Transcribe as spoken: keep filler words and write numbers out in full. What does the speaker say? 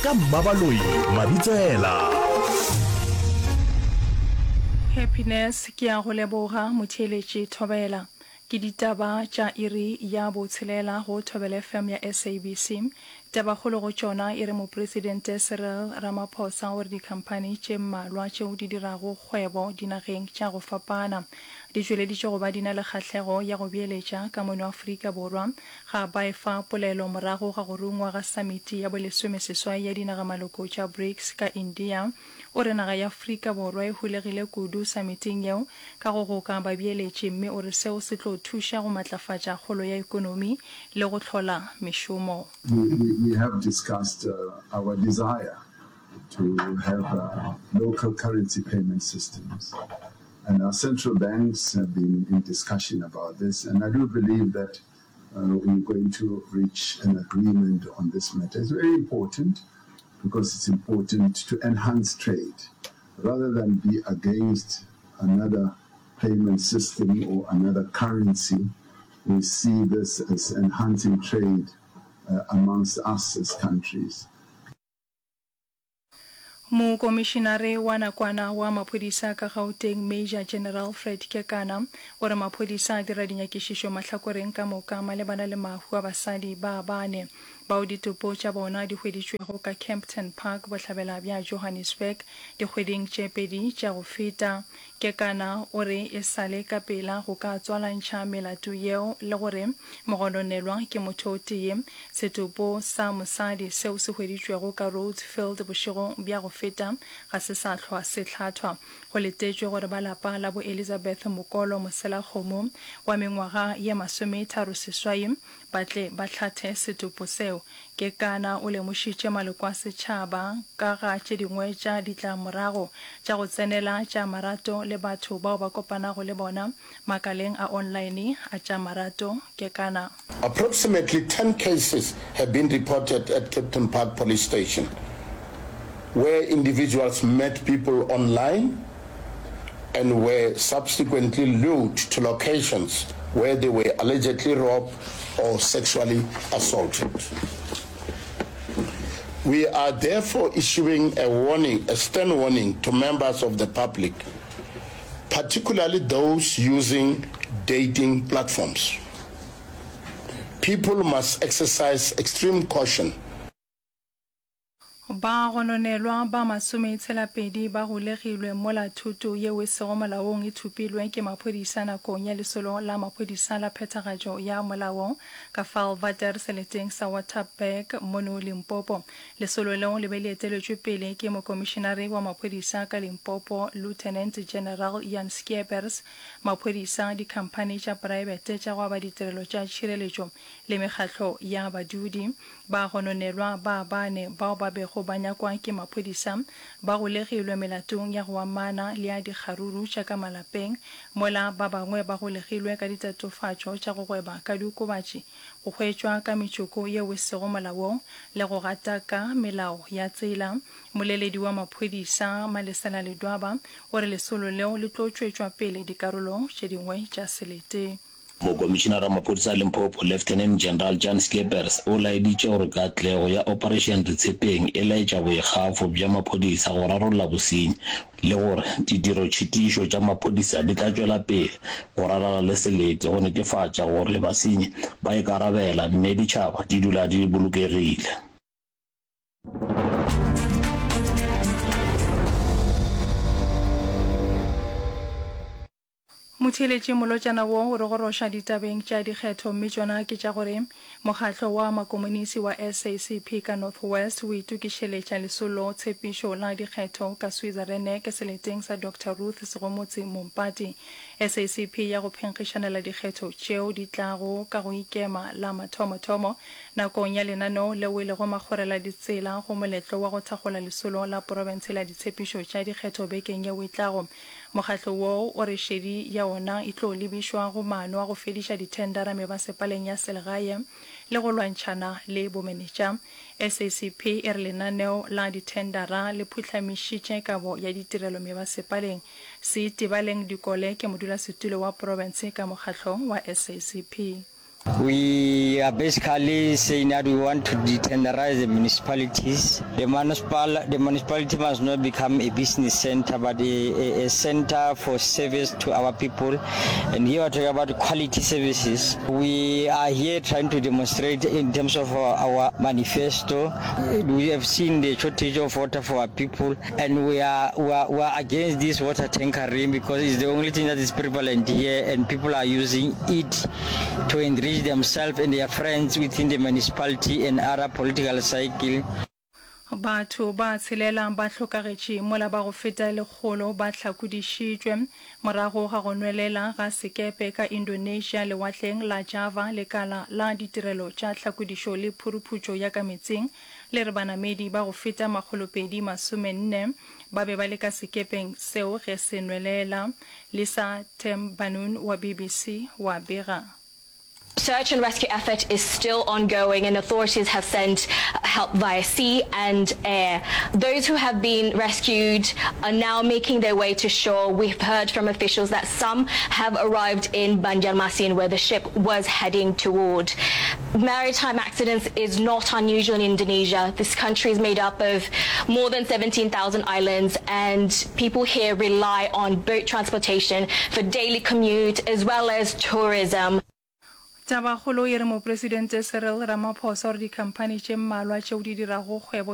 Ka Mmabaloi Mabitsela. Happiness ke a go leboga motheeletši Thobela. Ke ditaba tša iri ya botshelela go Thobela F M ya S A B C. Tabakgolo go tšona e re Mopresidente Cyril Ramaphosa o re dikhamphani tše mmalwa tšeo di dirago kgwebo dinageng tša go fapana di tšweleditše go ba di na le kgahlego ya go beeletša ka mono Afrika Borwa ga ba efa polelo morago ga go rungwa ga samiti ya bolesomeseswai ya dinagamaloko tša BRICS ka India. O re naga ya Afrika Borwa e holegile kudu samiting yeo ka go goka babeeletši mme o re seo se tlo thuša go matlafatša kgolo ya ekonomi le go hlola mešomo. We, we, we have discussed uh, our desire to have uh, local currency payment systems. And our central banks have been in discussion about this. And I do believe that uh, we're going to reach an agreement on this matter. It's very important because it's important to enhance trade rather than be against another payment system or another currency. We see this as enhancing trade uh, amongst us as countries. Mokomišinare wa nakwana wa maphodisa ka Gauteng Major General Fred Kekana o re maphodisa a dira dinyakišišo mahlakoreng ka moka malebana le mahu a basadi ba bane bao ditopo tša bona di hweditšwego ka Kempton Park bohlabela bja Johannesburg dikgweding tše pedi tša go feta. Kekana o re e sale ka pela go ka tswalantšha melato yeo le gore mogononelwa ke motho o tee. Setopo sa mosadi seo se hweditšwego ka Rhodesfield bošegong bja go feta ga se sa hlwa se hlathwa. Go letetšwe gore ba lapa la bo Elizabeth Mokolo Moselakgomo wa mengwaga ye masometharo seswai ba tle ba hlathe setopo seo. Kekana o lemošitše maloko a setšhaba ka ga tše dingwe tša ditlamorago tša go tsenela tša marato le batho bao ba kopanago le bona makaleng a online a tša marato. Kekana. Approximately ten cases have been reported at Kempton Park Police Station where individuals met people online and were subsequently lured to locations where they were allegedly robbed or sexually assaulted. We are therefore issuing a warning, a stern warning to members of the public, particularly those using dating platforms. People must exercise extreme caution. Ba gononelwa ba masometshela-pedi ba golegilwe mola thuto yeo e sego molaong e thopilwe ke maphodisa nakong ya lesolo la maphodisa la phethagatšo ya molao ka Vaalwater seleteng sa Waterberg mono Limpopo. Lesolo leo le be le eteletšwe pele ke mokomišenare wa maphodisa ka Limpopo Lieutenant General Jan Schiepers, maphodisa, dikhamphani tša praebete tša go aba ditirelo tša tšhireletšo le mekgatlo ya badudi. Ba gononelwa ba bane bao ba bego ba nyakwa ke maphodisa ba golegilwe melatong ya go amana le ya dikgaruru tša ka malapeng, mola ba bangwe ba golegilwe ka ditatofatšo tša go gweba ka diokobatši, go hwetšwa ka metšoko yeo e sego molaong le go gataka melao ya tsela. Mmoleledi wa maphodisa Malesela Ledwaba o re lesolo leo le tlo tšwetšwa pele dikarolong tše dingwe tša selete. Mokomišinara wa maphodisa a Limpopo, Lieutenant General Jan Schippers, o laeditše gore katlego ya Operation Retshepeng e laetša boikgafo bja maphodisa go rarolla bosenyi le gore ditirotšhitišo tša maphodisa di tla tšwela pele go ralala le selete go netefatša gore basenyi ba ikarabela mme ditšhaba di dula di bolokegile. Motheeletši molotšana wo o re goroša ditabeng tša dikgetho mme tšona ke tša gore mokgatlo wa makomonisi wa S A C P ka North West o itokišeletša lesolo tshepišo la dikgetho ka Switzerland seleteng sa Doctor Ruth Segomotsi Mompati. S A C P ya go phenkgišanela dikgetho tšeo di tlago ka go ikema la mathomothomo nakong ya lenaneo leo e lego makgorela ditsela go moletlo wa go thakgola lesolo la profense la ditshepišo tša dikgetho bekeng yeo e tlago. Mokgatlo woo o re šedi ya ona e tlo lebišwa go maano a go fediša dithendara mebasepaleng ya selegae le go lwantšhana le bomenetša. S A C P e re lenaneo la dithendara le phuhlamišitše kabo ya ditirelo mebasepaleng. Seitebaleng Dikole ke modulasetulo wa profense ka mokgatlong wa S A C P. We are basically saying that we want to detenderize the municipalities. The, municipal, the municipality must not become a business center, but a, a, a center for service to our people. And here we're talking about quality services. We are here trying to demonstrate in terms of our, our manifesto. We have seen the shortage of water for our people, and we are, we are, we are against this water tankering because it's the only thing that is prevalent here, and people are using it to enrich themselves and their friends within the municipality and other political cycle. Batho ba tshelela ba hlokagetše mola ba go feta lekgolo ba hlakodišitšwe morago ga go nwelela ga sekepe ka Indonesia lewatleng la Java. Lekala la ditirelo tša tlhakodišo le phuruphutšo ya ka meetseng le re banamedi ba go feta makgolopedi masomenne ba be ba le ka sekepeng seo ge se nwelela. Lisa Tembanud wa BBC wa bega. Search and rescue effort is still ongoing and authorities have sent help via sea and air. Those who have been rescued are now making their way to shore. We've heard from officials that some have arrived in Banjarmasin where the ship was heading toward. Maritime accidents is not unusual in Indonesia. This country is made up of more than seventeen thousand islands, and people here rely on boat transportation for daily commute as well as tourism. Tabakgolo e re Mopresidente Cyril Ramaphosa o re dikhamphani tše mmalwa tšeo di dirago kgwebo